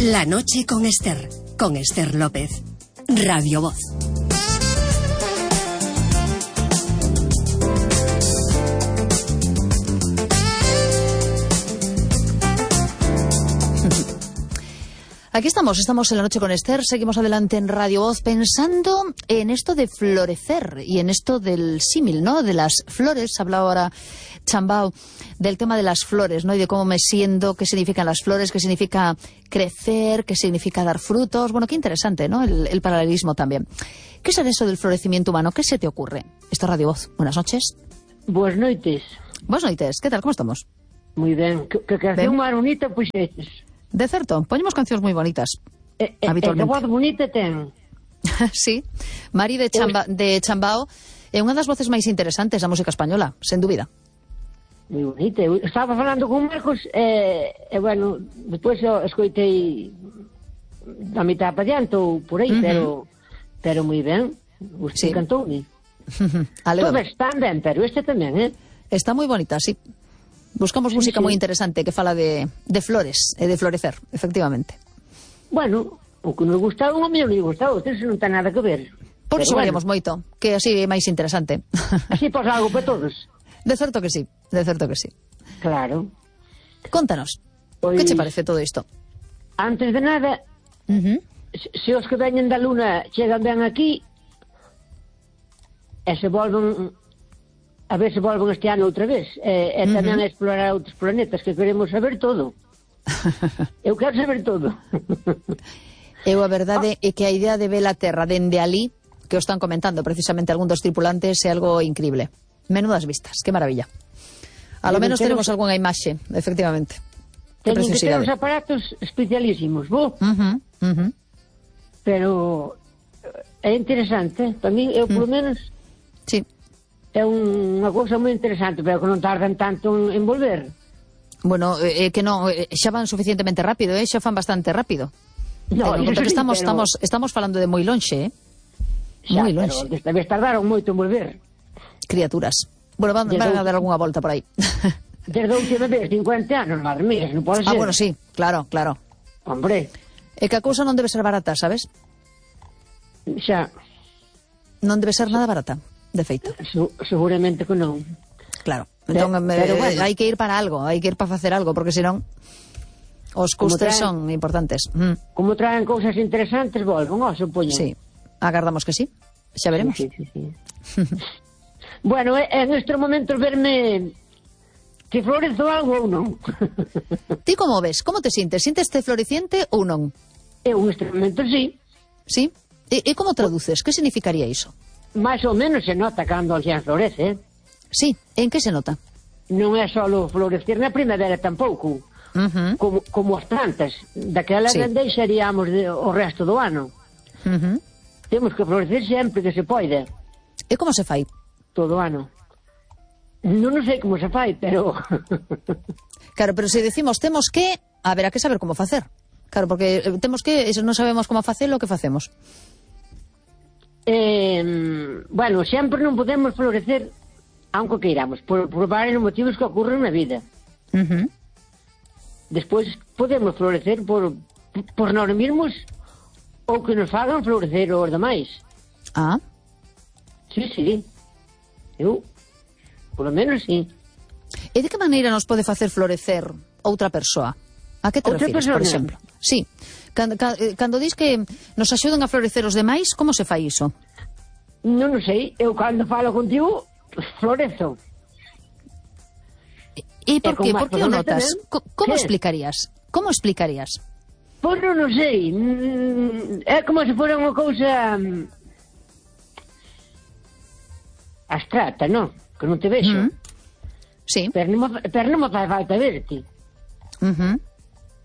La noche con Esther López, Radio Voz. Aquí estamos en La noche con Esther, seguimos adelante en Radio Voz pensando en esto de florecer y en esto del símil, ¿no? De las flores. Hablaba ahora Chambao del tema de las flores, ¿no? Y de cómo me siento, qué significan las flores, qué significa crecer, qué significa dar frutos. Bueno, qué interesante, ¿no? El paralelismo también. ¿Qué es eso del florecimiento humano? ¿Qué se te ocurre? Esto es Radio Voz. Buenas noches. Buenas noites. Buenas noites. ¿Qué tal? ¿Cómo estamos? Moi ben. Que canción máis bonita puxeches. De certo, poñemos cancións moi bonitas. Habitualmente. Que voz bonita ten. Sí, Mari de Chambao é unha das voces máis interesantes da música española, sen dúbida. Moi bonita. Eu estaba falando con Marcos bueno, despois escoitei da mitad para diante ou por aí, pero moi ben. Usted cantoume. Todas están ben, pero este tamén, Está moi bonita, sí. Buscamos música moi interesante que fala de flores e de florecer, efectivamente. Bueno, o que nos gustaba, o mellor non gustaba, isto non ten nada que ver. Por iso variamos moito, que así é máis interesante. Así pasa algo para todos. De certo que sí, de certo que sí. Claro. Contanos, que che parece todo isto? Antes de nada, se os que veñen da Luna chegan ben aquí, e se volven... A ver se volven este ano outra vez. E tamén a explorar outros planetas, que queremos saber todo. Eu quero saber todo. A verdade é que a idea de ver a Terra dende ali, que o están comentando precisamente algún dos tripulantes, é algo increíble. Menudas vistas, que maravilla. A lo menos tenemos algunha imaxe, efectivamente. Teñen que ter uns aparatos especialísimos, pero é interesante. Para mí, eu polo menos... Sí. É unha cousa moi interesante, pero que non tardan tanto en volver. Bueno, que non, xa van suficientemente rápido, xa fan bastante rápido. No, porque estamos falando de moi lonxe, moi lonxe. Pero desta vez tardaron moito en volver. Criaturas. Bueno, van a dar algunha volta por aí. Desde a última vez, 50 anos, madre mía, non pode ser. Bueno, sí, claro. Hombre. É que a cousa non debe ser barata, sabes? Xa. Non debe ser nada barata. De feito. Seguramente que non. Claro. Entón, bueno, hai que ir para algo, hai que ir para facer algo, porque senón os custes son importantes. Como traen cousas interesantes, volven, supoño. Sí, agardamos que sí. Xa veremos. Sí. Bueno, en estes momentos verme que florezo algo ou non. Ti como ves? Como te sintes? Sinteste floreciente ou non? Eu nestes momentos sí. Sí? E como traduces? Que significaría iso? Mais ou menos se nota cando alguén florece. Sí, en que se nota? Non é só florecer na primavera tampouco, como as plantas. Daquela deixaríamos o resto do ano. Temos que florecer sempre que se poida. E como se fai? Todo o ano. Non sei como se fai, pero... Claro, pero se decimos temos que, haberá que saber como facer. Claro, porque temos que, non sabemos como facelo, o que facemos? Bueno, sempre non podemos florecer aunque queiramos, por varios motivos que ocurren na vida. Despois podemos florecer por nós mesmos ou que nos fagan florecer os demais. Ah. Sí. Eu, por lo menos, sí. E de que maneira nos pode facer florecer outra persoa? A que te refires, por exemplo? Sí. Cando dis que nos axudan a florecer os demais, como se fai iso? Non sei, eu cando falo contigo florezo. E por que? Por que o notas? Como explicarías? Como explicarías? Pois non sei. É como se fora unha cousa abstracta, non? Que non te vexo. Sí. Pero non me fai falta verte.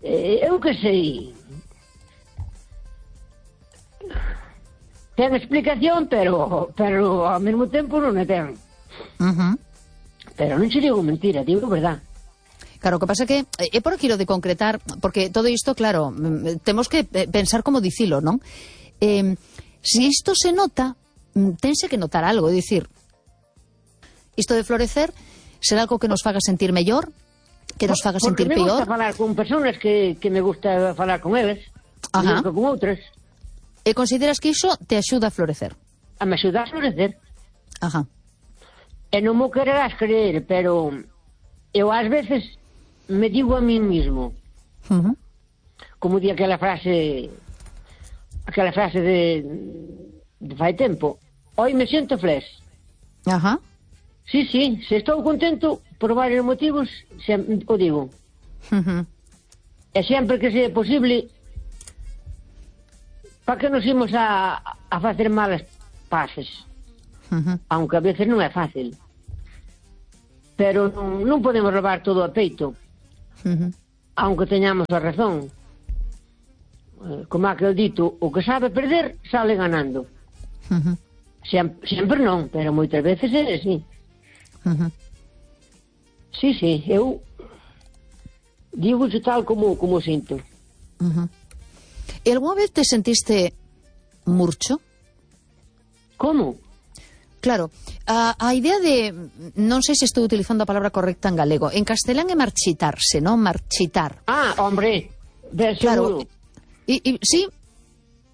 Eu que sei. Ten explicación, pero ao mesmo tempo non a ten. Pero non se digo mentira, digo verdad. Claro, o que pasa que é por aquilo de concretar, porque todo isto, claro, temos que pensar como dicilo, non? Se isto se nota, tense que notar algo, é dicir, isto de florecer será algo que nos faga sentir mellor, que nos faga sentir peor. Porque me gusta falar con personas que me gusta falar con eles. Ajá. mellor que con outras. E consideras que iso te axuda a florecer? A me axudar a florecer. Ajá. E non mo quererás creer, pero eu ás veces me digo a mí mismo, como di aquela frase de fai tempo, hoy me siento flex. Ajá. Sí, se estou contento por varios motivos, o digo. E sempre que sea posible, para que nos imos a facer malas pases? Aunque a veces non é fácil. Pero non podemos levar todo a peito. Aunque teñamos a razón. Como aquel dito, o que sabe perder, sale ganando. Sempre non, pero moitas veces é así. Sí, eu digo tal como sinto. E algunha vez te sentiste murcho? Como? Claro, a idea de, non sei se estou utilizando a palabra correcta en galego, en castelán é marchitarse, non? Marchitar. Ah, hombre, de seguro. Claro, sí,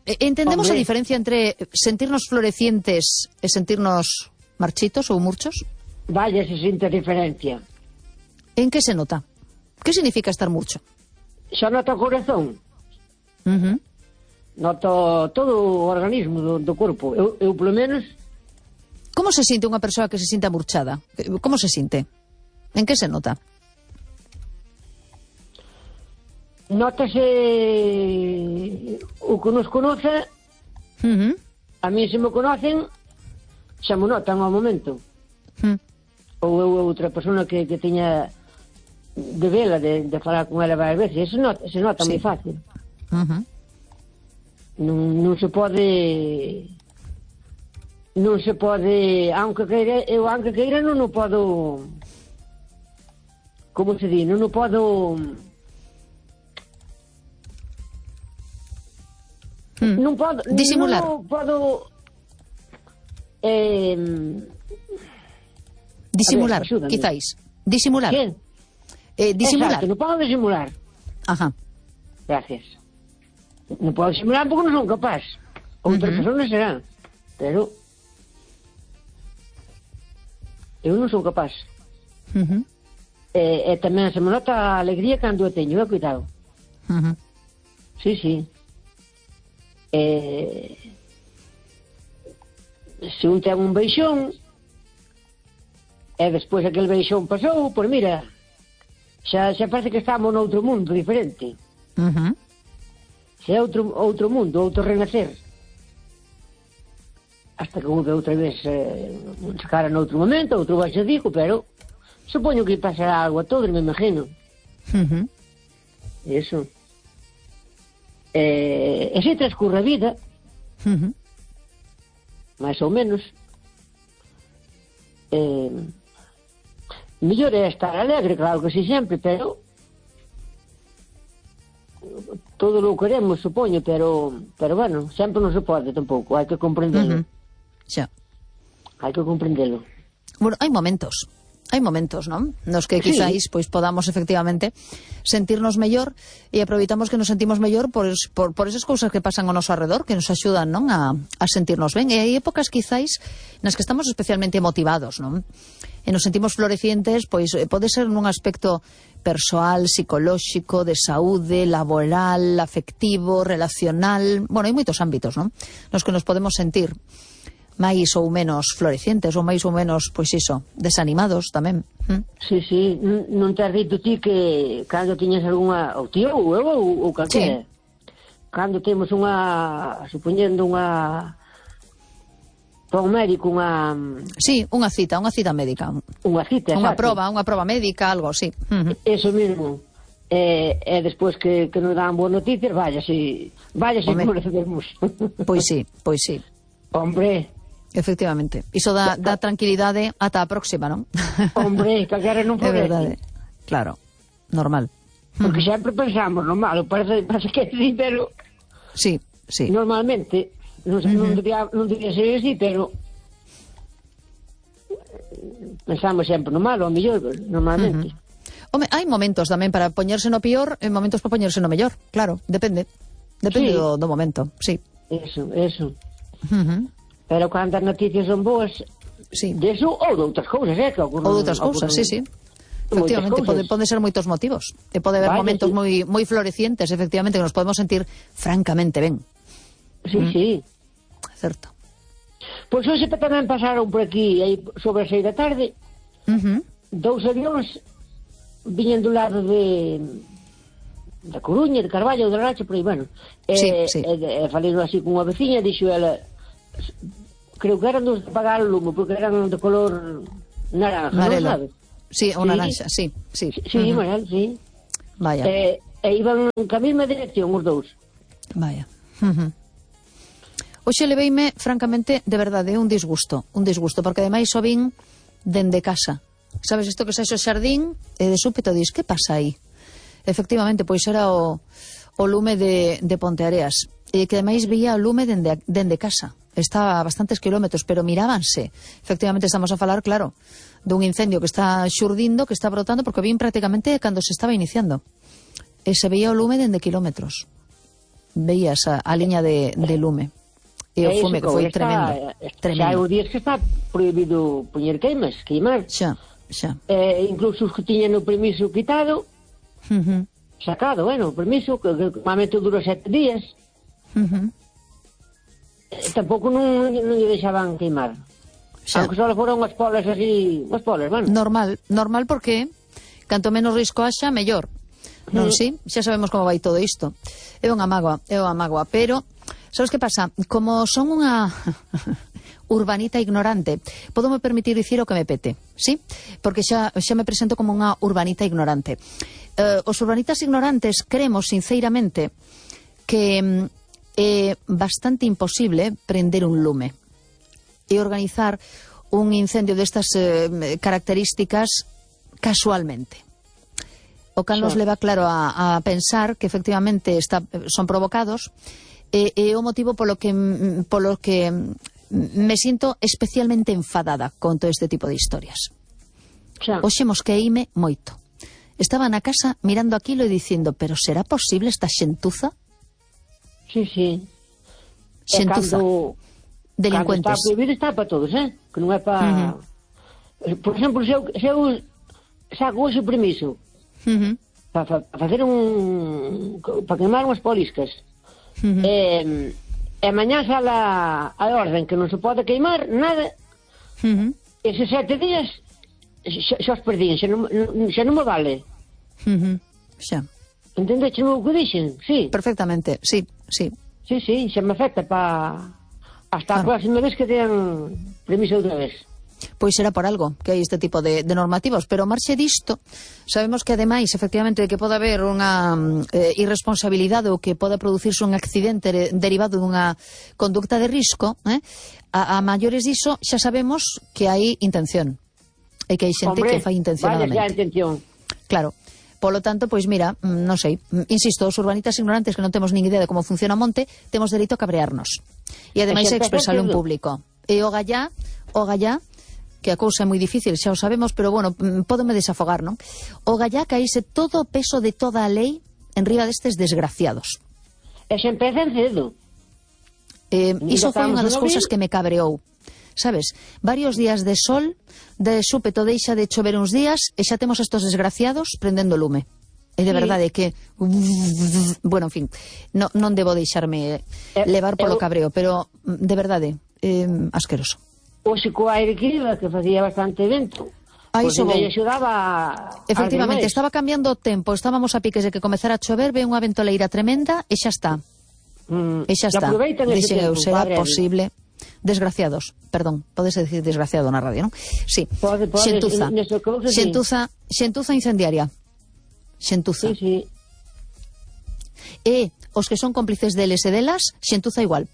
entendemos Hombre. a diferencia entre sentirnos florecientes e sentirnos marchitos ou murchos? Vaya, se sinte a diferencia. En que se nota? Que significa estar murcho? Xa noto o corazón, noto todo o organismo do corpo. Eu polo menos, Como se sinte unha persoa que se sinta murchada? Como se sinte? En que se nota? notase o que nos conoce, a mí se me conocen, xa me notan ao momento. Ou eu outra persona que teña de vela, de falar con ela varias veces, se nota moi fácil. Non se pode, aunque queira non o podo, como se di, non o podo, non podo disimular. Non podo Disimular, axúdame. quizáis. Disimular. ¿Qué? Disimular. Exacto, non podo disimular. Ajá. Gracias. Non podo disimular porque non son capaz. Outras persoas serán, pero eu non son capaz. E tamén se me nota a alegría cando eu teño, cuidado. Sí. Se un ten un beixón e despois aquel beixón pasou, pois mira, xa parece que estamos noutro mundo diferente. Xa é outro mundo, outro renacer. Hasta que vuelve outra vez se cara noutro momento, outro baixo digo, pero supoño que pasará algo a todos, me imagino. Eso. E se transcurre a vida, máis ou menos, mellor é estar alegre, claro que sí, sempre, pero todo lo queremos, supoño, pero bueno, sempre non se pode tampouco, hai que comprendelo. Xa. Hai que comprendelo. Bueno, hai momentos, non? Nos que Sí. quizáis pois podamos efectivamente sentirnos mellor e aproveitamos que nos sentimos mellor por esas cousas que pasan ao noso arredor, que nos axudan, non, a sentirnos ben. E hai épocas quizáis nas que estamos especialmente motivados, non? E nos sentimos florecientes, pois pode ser nun aspecto persoal, psicolóxico, de saúde, laboral, afectivo, relacional. Bueno, hai moitos ámbitos, non? Nos que nos podemos sentir máis ou menos florecientes ou máis ou menos, pois iso, desanimados tamén. Sí, non te has dito ti que cando tiñas algunha, ou tío, ou eu, ou calquera, cando temos supoñendo para un médico Sí, unha cita médica. Unha cita, Unha exacto. prova médica, algo así. Eso mesmo. E despois que nos dan boas noticias, vaya si como recebemos. Pois sí. Hombre, Efectivamente. Iso dá tranquilidade ata a próxima, non? hombre, calquera non É florece. verdade. Claro, normal. Porque sempre pensamos no malo, parece que sí, pero Sí. normalmente, non debería ser así, pero pensamos sempre no malo, ao mellor, normalmente. Home, hai momentos tamén para poñerse no pior e momentos para poñerse no mellor, claro, depende. Depende Sí. do momento, sí. Eso. Uh-huh. Pero cando as noticias son boas, Sí. deso ou de outras cousas, que ocorren. Ou de outras cousas, sí, sí. Efectivamente, pode ser moitos motivos. E pode haber momentos moi florecientes, efectivamente, que nos podemos sentir francamente ben. Sí. Certo. Pois hoxe tamén pasaron por aquí, aí sobre as 6 da tarde, dous avións viñen do lado da Coruña, de Carballo, de Rache, por aí, bueno. Sí. Falei así con unha veciña, dixo ela, creo que eran dos de apagar o lume, porque eran de color naranja, non sabes? Sí, o naranja, sí. Sí, Manuel, sí. Vaya. Iban ca mesma dirección os dous. Vaya. Hoxe leveime, francamente, de verdade, un disgusto, porque ademais o vin dende casa. Sabes, isto que saes ao xardín e de súpeto dis, que pasa aí? Efectivamente, pois era o lume de Ponteareas, e que ademais veía o lume dende casa. Está a bastantes kilómetros, pero mirábanse. Efectivamente estamos a falar, claro, dun incendio que está xurdindo, que está brotando, porque vin prácticamente cando se estaba iniciando. E se veía o lume dende kilómetros. Veías a liña de lume. E o fume que foi tremendo. Xa hai días que está prohibido poñer queimar. Xa. Incluso os que tiñan o permiso quitado, sacado, o permiso, que normalmente dura 7 días. Tampouco non lle deixaban queimar. Aunque só foron unhas polas así, unhas polas, bueno. Normal porque canto menos risco haxa, mellor. Non, sí? Xa sabemos como vai todo isto. É unha mágoa, pero sabes que pasa? Como son unha urbanita ignorante, podo me permitir dicir o que me pete, sí? Porque xa me presento como unha urbanita ignorante. Os urbanitas ignorantes creemos sinceramente que é bastante imposible prender un lume e organizar un incendio destas características casualmente. O cal nos leva, claro, a pensar que efectivamente son provocados, e o motivo polo que me sinto especialmente enfadada con todo este tipo de historias. Hoxe mosqueíme moito. Estaba na casa mirando aquilo e dicindo, pero será posible esta xentuza? Sí. Xentuza. Delincuentes. Cando está prohibido está para todos, que non é para... Por exemplo, se eu saco hoxe o permiso para facer para queimar unhas poliscas, e mañá sale a orden que non se pode queimar nada, eses 7 días xa os perdín, xa non me vale. Xa. Entendeche o que dixen? Sí. Perfectamente, sí. Sí, xa me afecta hasta a próxima vez que tean permiso outra vez. Pois será por algo que hai este tipo de normativos, pero marxe disto, sabemos que ademais, efectivamente, que pode haber unha irresponsabilidade ou que pode producirse un accidente derivado dunha conducta de risco, a maiores diso xa sabemos que hai intención, e que hai xente que fai intencionadamente. Vaya, xa intención. Claro. Polo tanto, pois mira, non sei, insisto, os urbanitas ignorantes que non temos nin idea de como funciona o monte, temos dereito a cabrearnos. E ademais a expresarlo en público. E o gallá, que a cousa é moi difícil, xa o sabemos, pero bueno, pódome desafogar, non? O gallá caíse todo o peso de toda a lei en riba destes desgraciados. E xa empezan cedo. Iso foi unha das cousas que me cabreou. Sabes, varios días de sol, de súpeto deixa de chover uns días e xa temos estos desgraciados prendendo lume. E de verdade que bueno, en fin, non debo deixarme levar polo cabreo, pero de verdade, asqueroso. Oxe co aire que iba, que facía bastante vento, pois me axudaba. Efectivamente, estaba cambiando o tempo, estábamos a piques de que comezara a chover, ve unha ventoleira tremenda e xa está. E xa está. Dixen eu, será posible. Desgraciados, perdón, podes decir desgraciado na radio, non? Sí, xentuza incendiaria. Xentuza. Sí. E os que son cómplices deles e delas, xentuza igual.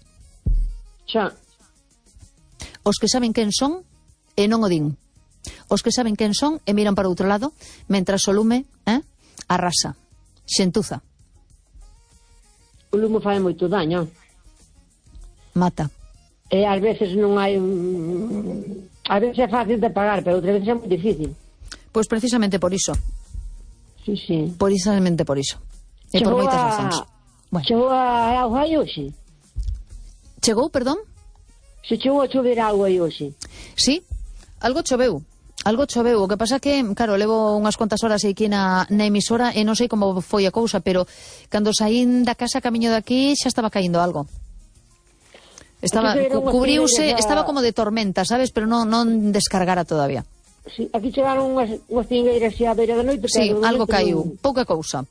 Xa. Os que saben quen son e non o din. Os que saben quen son e miran para outro lado, mentras o lume arrasa. Xentuza. O lume fai moito daño. Mata. E ás veces non hai a veces é fácil de pagar, pero outras veces é moi difícil. Pois precisamente por iso. Sí. Precisamente por iso. E por moitas razóns. Bueno. Chegou a auga aí hoxe? Chegou, perdón? Se chegou a chover auga aí hoxe? Sí, algo choveu. O que pasa que, claro, levo unhas cuantas horas aquí na emisora e non sei como foi a cousa, pero cando saín da casa camiño de aquí xa estaba caindo algo. Cubriuse, estaba como de tormenta, sabes, pero non descargara todavía. Sí, aquí chegaron unhas cingueiras xa a beira da noite. Sí, algo caiu, pouca cousa,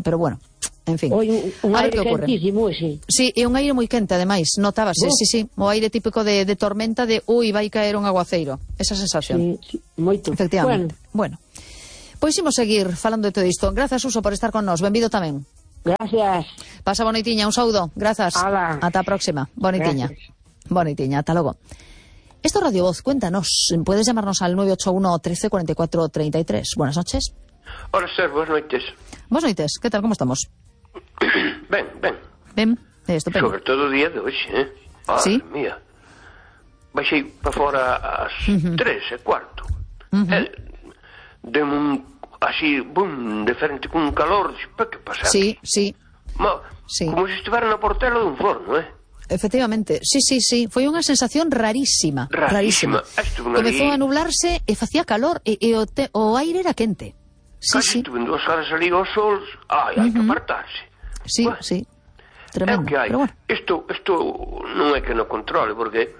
pero bueno, en fin. Un aire quentísimo, sí. Sí, e un aire moi quente, ademais, notábase, sí, o aire típico de tormenta de, vai caer un aguaceiro, esa sensación. Sí, moito. Efectivamente. Bueno, pois imos seguir falando de todo isto. Grazas, Suso, por estar con nós, benvido tamén. Gracias. Pasa bonitiña, un saúdo, grazas. Ala. Ata a próxima, bonitiña. Bonitiña, ata logo. Esto es Radio Voz, cuéntanos. Puedes llamarnos al 981 13 44 33. Buenas noches. Hola, Esther, buenas noites. Buenas noites, ¿qué tal? ¿Cómo estamos? Ben, estupendo. sobre todo o día de hoxe, Sí? Mía. Baixei para fora ás 3:15. Demo así, diferente, con un calor, para que pasa? Sí. Como se estivera na portela dun forno, Efectivamente, sí. Foi unha sensación rarísima. Comezou a nublarse e facía calor e o aire era quente. Casi estuve 2 horas ali ao sol. Hai que apartarse. Sí, tremendo. É o que hai. Pero bueno. Isto non é que non controle, porque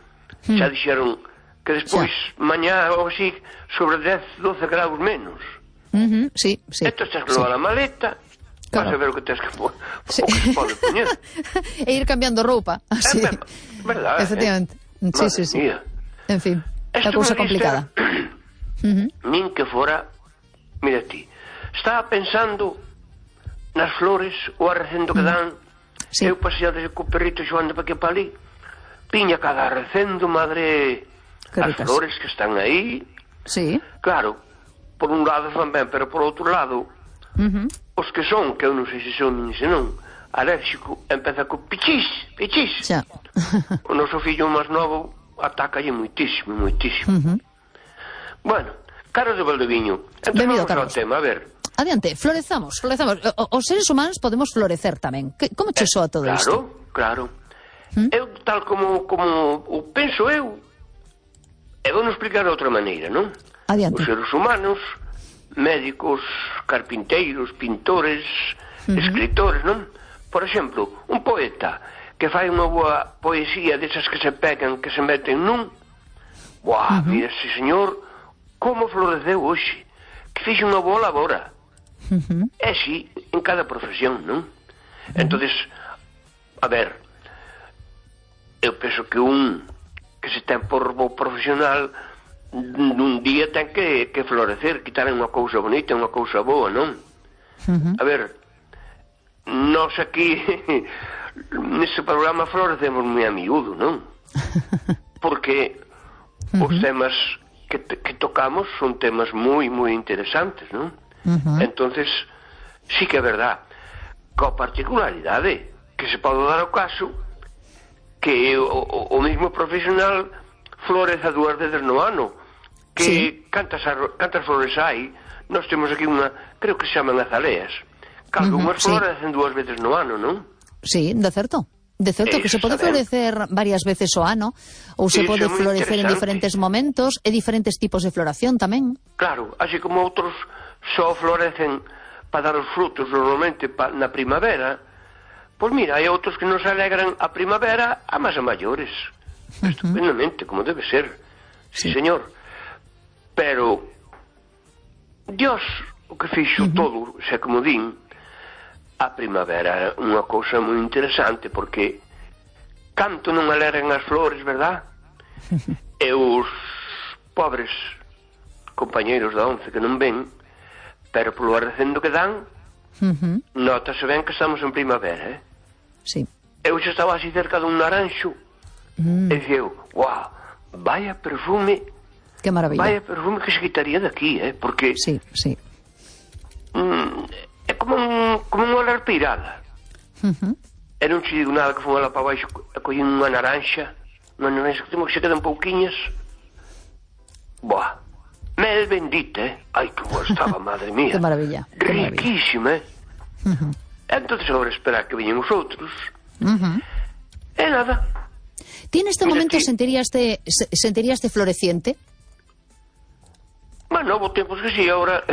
xa dixeron que despois, mañá ou así, sobre 10, 12 graus menos. Sí. Esto estás que levar a maleta, vas a ver o que tens que pode poñer. E ir cambiando roupa. Así. Verdad, efectivamente. Sí. Mía. En fin, a cousa complicada. Nin que fora, mira ti, estaba pensando nas flores, o arrecendo que dan. Sí. Eu paseado co perrito xoando para que para ali, piña cada arrecendo, madre, as flores que están aí. Sí. Claro, por un lado fan ben, pero por outro lado, os que son, que eu non sei se son nin se non, alérxico, empeza co pichis. Xa. O noso fillo máis novo atacalle moitísimo. Bueno, Carlos de Valdeviño, entón vamos ao tema, a ver. Adiante, florezamos. Os seres humanos podemos florecer tamén. Como che soa todo isto? Claro. Eu, tal como o penso eu vou non explicar de outra maneira, non? Adiante. Os seres humanos, médicos, carpinteiros, pintores, escritores, non? Por exemplo, un poeta que fai unha boa poesía desas que se pegan, que se meten nun, mira ese señor como floreceu hoxe, que fixe unha boa labora. É así en cada profesión, non? Entonces, a ver, eu penso que un que se ten por bo profesional nun día ten que florecer, quitar unha cousa bonita, unha cousa boa, non? A ver, nós aquí neste programa florecemos moi a miúdo, non? Porque os temas que tocamos son temas moi interesantes, non? Entonces, sí que é verdad, coa particularidade que se pode dar o caso que o mesmo profesional floreza 2 veces no ano, que cantas flores hai. Nós temos aquí unha, creo que se chaman azaleas, que algunhas florecen 2 veces no ano, non? Sí, de certo, que se pode florecer varias veces o ano, ou se pode florecer en diferentes momentos, e diferentes tipos de floración tamén. Claro, así como outros só florecen para dar os frutos normalmente na primavera, pois mira, hai outros que nos alegran a primavera a máis a maiores. Estupendamente, como debe ser. Sí, señor. Pero Dios o que fixo todo, xa como din, a primavera é unha cousa moi interesante, porque canto non alegran as flores, verdad? E os pobres compañeiros da once que non ven, pero polo arrecendo que dan, notase ben que estamos en primavera, Sí. Eu xa estaba así cerca dun naranxo e dixeu, vaya perfume, que maravilla, vaya perfume que se quitaría de aquí, porque sí. É como unha olar pirada. E non che digo nada que fun alá para baixo e collín unha naranxa que temos que se quedan pouquiñas. Mel bendita, ai que boa estaba, madre mía. Que maravilla. Riquísima, entonces agora esperar que veñen os outros. E nada. Ti neste momento sentiríaste floreciente? Bueno, houve tempos que sí, agora...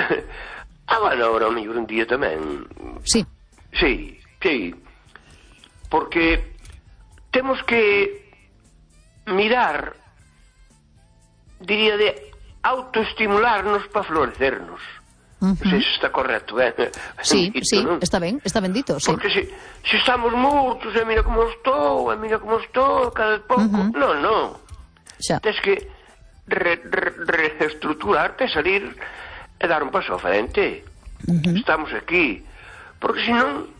bueno, agora ao mellor un día tamén. Sí. Sí. Porque temos que mirar, diría, de autoestimularnos para florecernos. Non sei se está correcto, Sí, dito, non? está ben dito, sí. Porque se estamos mortos, mira como estou, cada pouco... Non. Xa. Tens que reestructurarte, salir e dar un paso ao frente. Estamos aquí. Porque senón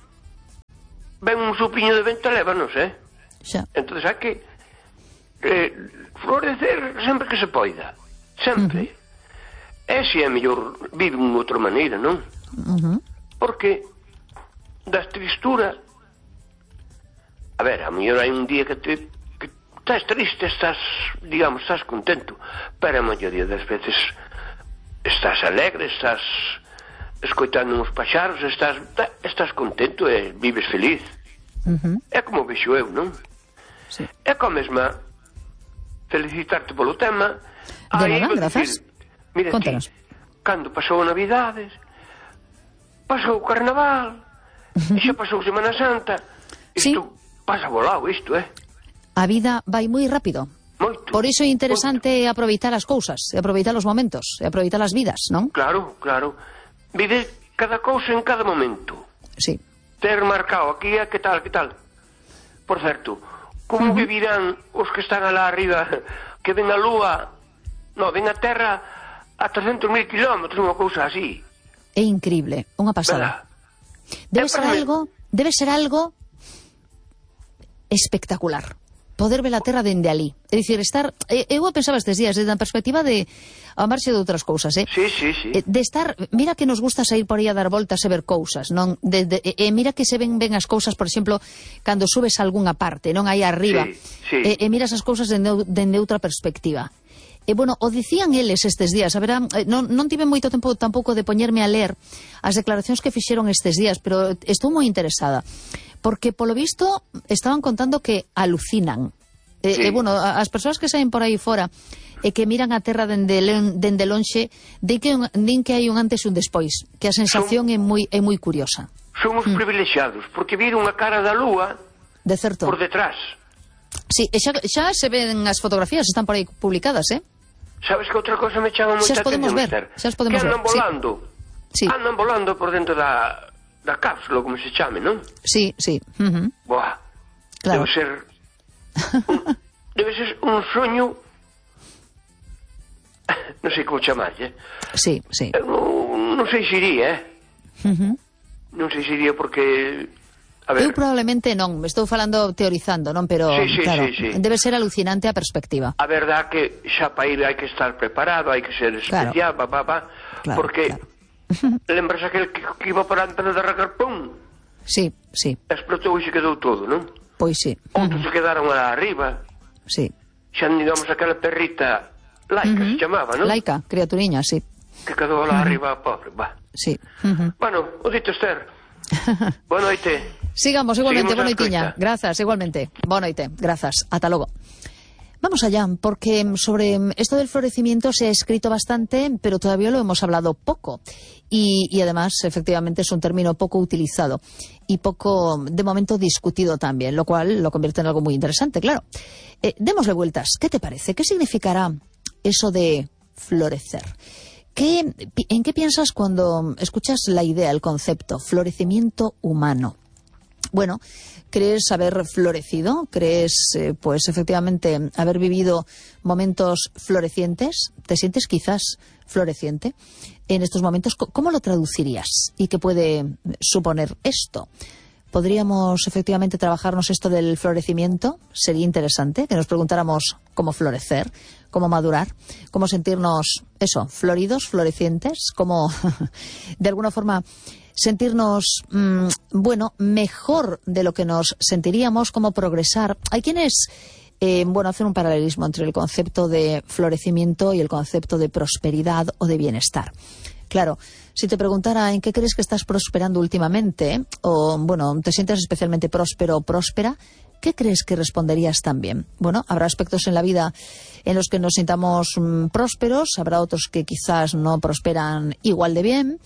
ven un supiño de vento e lévanos, Xa. Entón hai que florecer sempre que se poida. Sempre. E se é mellor vive de outra maneira, non? Porque das tristura, a ver, a mellor hai un día que estás triste, estás contento, pero a maioría das veces estás alegre, estás escoitando uns paxaros, estás contento e vives feliz. É como vexo eu, non? Sí. É como mesma felicitarte polo tema. De nada, grazas. Mira, Contanos. Cando pasou a Navidades, pasou o Carnaval, e xa pasou Semana Santa. Isto pasa volado, isto, A vida vai moi rápido. Moito. Por iso é interesante aproveitar as cousas, aproveitar os momentos, aproveitar as vidas, non? Claro. Vive cada cousa en cada momento. Sí. Ter marcado aquí, que tal. Por certo, como vivirán os que están alá arriba, que ven a Lúa, ven a Terra a 300.000 kilómetros, unha cousa así. É increíble, unha pasada. Debe ser algo espectacular. Poder ver a Terra dende ali. É dicir, eu pensaba estes días desde a perspectiva de a marxe de outras cousas, Sí. De estar, mira que nos gusta sair por aí a dar voltas e ver cousas, non? Mira que se ven as cousas, por exemplo, cando subes a algunha parte, non aí arriba. Sí. E miras as cousas dende outra perspectiva. Bueno, o dicían eles estes días, a ver, non tive moito tempo tampouco de poñerme a ler as declaracións que fixeron estes días, pero estou moi interesada, porque polo visto estaban contando que alucinan. Bueno, as persoas que saen por aí fora e que miran a Terra dende lonxe, din que hai un antes e un despois, que a sensación é moi curiosa. Somos privilexiados, porque viron a cara da Lúa de certo. Por detrás. Sí, xa se ven as fotografías, están por aí publicadas, Sabes que outra cosa me chama moita atención, Xa os podemos ver. Andan volando. Sí. Andan volando por dentro da cápsula, como se chame, non? Sí. Buah. Claro. Debe ser un soño. Non sei como chamarlle. Sí. Non sei se iría, Non sei se iría porque... Eu probablemente non, me estou falando teorizando, non? Pero, claro, debe ser alucinante a perspectiva. A verdad que xa para ir hai que estar preparado, hai que ser especial, porque lembras aquel que iba para antes de arrancar, pum? Sí. Explotou e se quedou todo, non? Pois sí. Outros se quedaron lá arriba. Sí. Xa digamos aquela perrita Laica se chamaba, non? Laica, criaturiña, sí. Que quedou lá arriba, pobre, Sí. Bueno, o dito, Esther. Boa noite. Sigamos igualmente, boa noitiña. Grazas, igualmente. Boa noite, grazas. Ata logo. Vamos allá, porque sobre esto del florecimiento se ha escrito bastante, pero todavía lo hemos hablado poco. Y además, efectivamente, es un término poco utilizado y poco, de momento, discutido también, lo cual lo convierte en algo muy interesante, claro. Démosle vueltas. ¿Qué te parece? ¿Qué significará eso de florecer? ¿En qué piensas cuando escuchas la idea, el concepto, florecimiento humano? Bueno, ¿crees haber florecido? ¿Crees, pues efectivamente, haber vivido momentos florecientes? ¿Te sientes quizás floreciente en estos momentos? ¿Cómo lo traducirías? ¿Y qué puede suponer esto? ¿Podríamos efectivamente trabajarnos esto del florecimiento? Sería interesante que nos preguntáramos cómo florecer, cómo madurar, cómo sentirnos, floridos, florecientes, cómo, de alguna forma, sentirnos, mejor de lo que nos sentiríamos, cómo progresar. Hay quienes, hacen un paralelismo entre el concepto de florecimiento y el concepto de prosperidad o de bienestar. Claro, si te preguntara en qué crees que estás prosperando últimamente, o bueno, te sientes especialmente próspero o próspera, ¿qué crees que responderías también? Bueno, habrá aspectos en la vida en los que nos sintamos prósperos, habrá otros que quizás no prosperan igual de bien,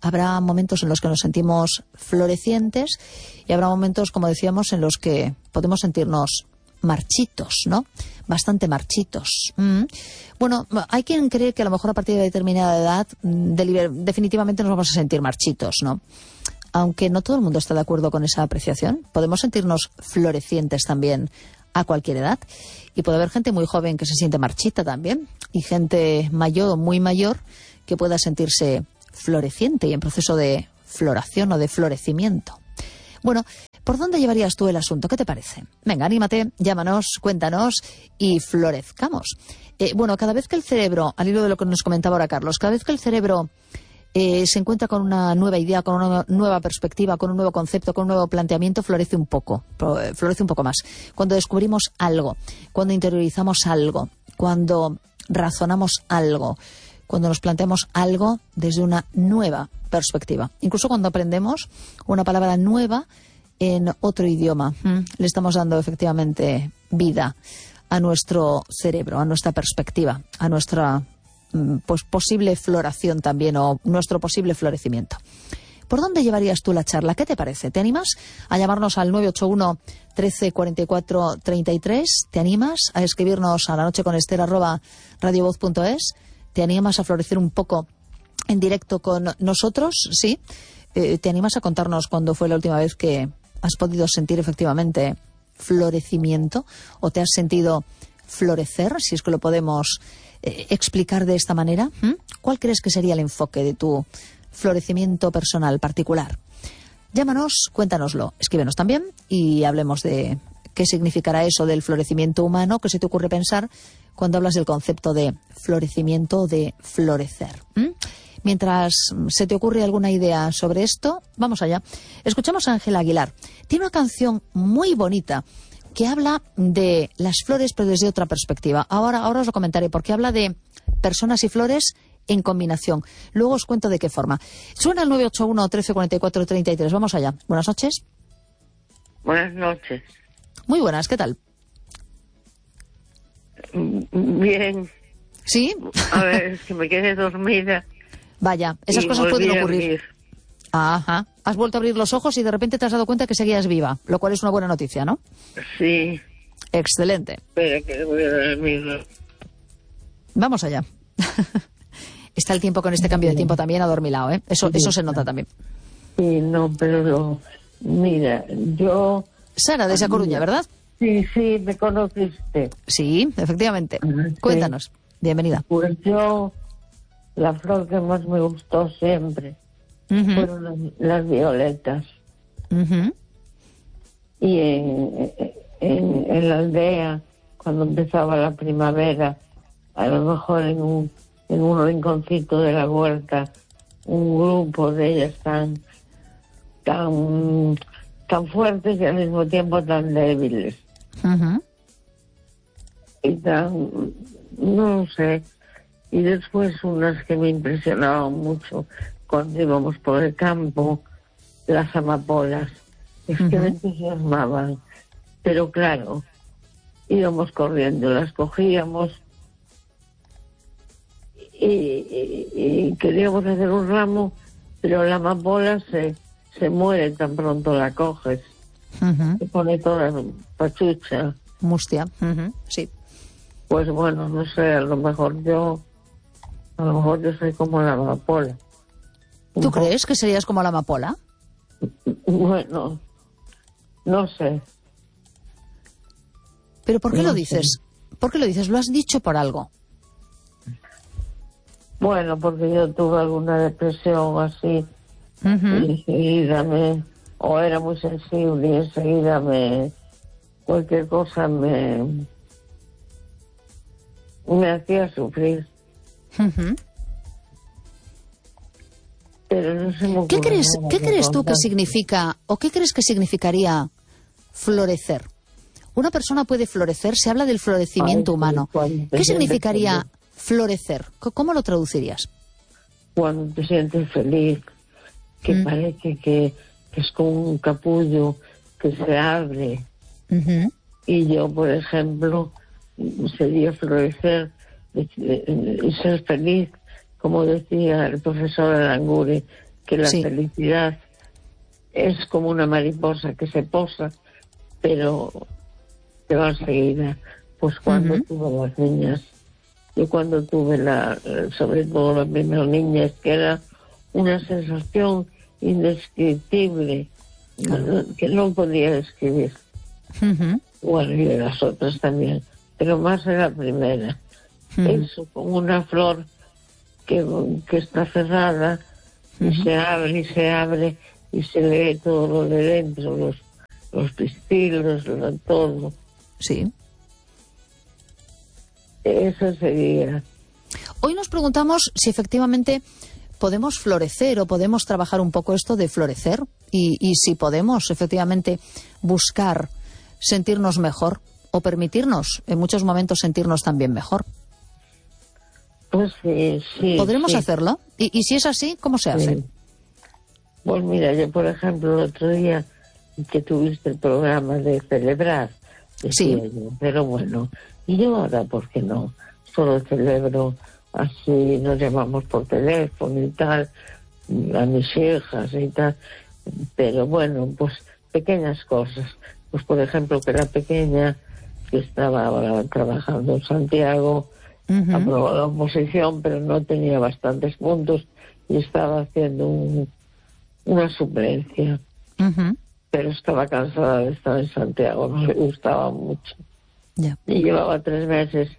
habrá momentos en los que nos sentimos florecientes y habrá momentos, como decíamos, en los que podemos sentirnos marchitos, ¿no? Bastante marchitos. Bueno, hay quien cree que a lo mejor a partir de determinada edad definitivamente nos vamos a sentir marchitos, ¿no? Aunque no todo el mundo está de acuerdo con esa apreciación. Podemos sentirnos florecientes también a cualquier edad. Y puede haber gente muy joven que se siente marchita también. Y gente mayor, muy mayor, que pueda sentirse floreciente y en proceso de floración o de florecimiento. Bueno, ¿por dónde llevarías tú el asunto? ¿Qué te parece? Venga, anímate, llámanos, cuéntanos y florezcamos. Bueno, cada vez que el cerebro, al hilo de lo que nos comentaba ahora Carlos, cada vez que el cerebro se encuentra con una nueva idea, con una nueva perspectiva, con un nuevo concepto, con un nuevo planteamiento, florece un poco más. Cuando descubrimos algo, cuando interiorizamos algo, cuando razonamos algo, cuando nos planteamos algo desde una nueva perspectiva. Incluso cuando aprendemos una palabra nueva en otro idioma, le estamos dando efectivamente vida a nuestro cerebro, a nuestra perspectiva, a nuestra pues posible floración también o nuestro posible florecimiento. ¿Por dónde llevarías tú la charla? ¿Qué te parece? ¿Te animas a llamarnos al 981 13 44 33? ¿Te animas a escribirnos a lanocheconester@radiovoz.es? ¿Te animas a florecer un poco en directo con nosotros? ¿Sí? ¿Te animas a contarnos cuándo fue la última vez que has podido sentir efectivamente florecimiento o te has sentido florecer, si es que lo podemos explicar de esta manera? ¿Cuál crees que sería el enfoque de tu florecimiento personal particular? Llámanos, cuéntanoslo, escríbenos también y hablemos de qué significará eso del florecimiento humano, qué se te ocurre pensar cuando hablas del concepto de florecimiento o de florecer. Mientras se te ocurre alguna idea sobre esto, vamos allá. Escuchamos a Ángela Aguilar. Tiene una canción muy bonita que habla de las flores, pero desde otra perspectiva. Ahora os lo comentaré, porque habla de personas y flores en combinación. Luego os cuento de qué forma. Suena el 981 13 44 33. Vamos allá. Buenas noches. Buenas noches. Muy buenas, ¿qué tal? Bien. ¿Sí? A ver, es que me quedé dormida. Vaya, esas cosas pueden ocurrir. Ajá. Has vuelto a abrir los ojos y de repente te has dado cuenta que seguías viva, lo cual es una buena noticia, ¿no? Sí. Excelente. Espera, que voy a dormir. Vamos allá. Está el tiempo con este cambio de tiempo también adormilado, ¿eh? Eso se nota también. Sí, no, pero mira, yo... Sara, de Esa Coruña, ¿verdad? Sí, me conociste. Sí, efectivamente. Sí. Cuéntanos. Bienvenida. Pues yo, la flor que más me gustó siempre fueron las violetas. Y en la aldea, cuando empezaba la primavera, a lo mejor en un rinconcito de la huerta, un grupo de ellas tan fuertes y al mismo tiempo tan débiles. Y no sé. Y después unas que me impresionaban mucho cuando íbamos por el campo, las amapolas. Es que me entusiasmaban. Pero claro, íbamos corriendo, las cogíamos y queríamos hacer un ramo, pero la amapola se muere tan pronto la coges. Se pone toda pachucha. Mustia, sí. Pues bueno, no sé, a lo mejor yo soy como la amapola. ¿Tú crees que serías como la amapola? Bueno, no sé. ¿Pero por qué lo dices? ¿Por qué lo dices? ¿Lo has dicho por algo? Bueno, porque yo tuve alguna depresión así y enseguida o era muy sensible y enseguida cualquier cosa me hacía sufrir. Pero no se me ocurre. ¿Qué crees tú que significa, o qué crees que significaría florecer? Una persona puede florecer, se habla del florecimiento humano. ¿Qué significaría florecer? ¿Cómo lo traducirías? cuando te sientes feliz, que parece que es como un capullo que se abre. Y yo, por ejemplo, sería florecer y ser feliz, como decía el profesor Aranguren, que la felicidad es como una mariposa que se posa, pero que va enseguida. Pues cuando tuve las niñas, yo cuando tuve sobre todo la primera niña, es que era una sensación indescriptible, que no podía describir. Bueno, y de las otras también, pero más de la primera. Eso, como una flor que está cerrada y se abre y se lee todo lo de dentro, los pistilos, todo. Sí. Eso sería. Hoy nos preguntamos si efectivamente podemos florecer o podemos trabajar un poco esto de florecer y si podemos efectivamente buscar sentirnos mejor o permitirnos en muchos momentos sentirnos también mejor. Pues sí. ¿Podremos hacerlo? ¿Y si es así, cómo se hace? Pues mira, yo por ejemplo el otro día que tuviste el programa de celebrar, decía yo, pero bueno, y yo ahora, ¿por qué no? Solo celebro así, nos llamamos por teléfono y tal, a mis hijas y tal, pero bueno, pues pequeñas cosas. Pues por ejemplo que la pequeña, que estaba ahora trabajando en Santiago, aprobó la oposición, pero no tenía bastantes puntos y estaba haciendo una suplencia. Pero estaba cansada de estar en Santiago, no le gustaba mucho. Y llevaba 3 meses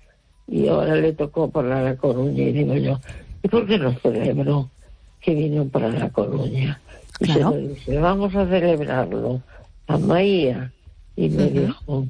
y ahora le tocó para La Coruña. Y digo yo, ¿y por qué no celebro que vino para La Coruña? Y se lo dije, vamos a celebrarlo a Maía. Y me dijo,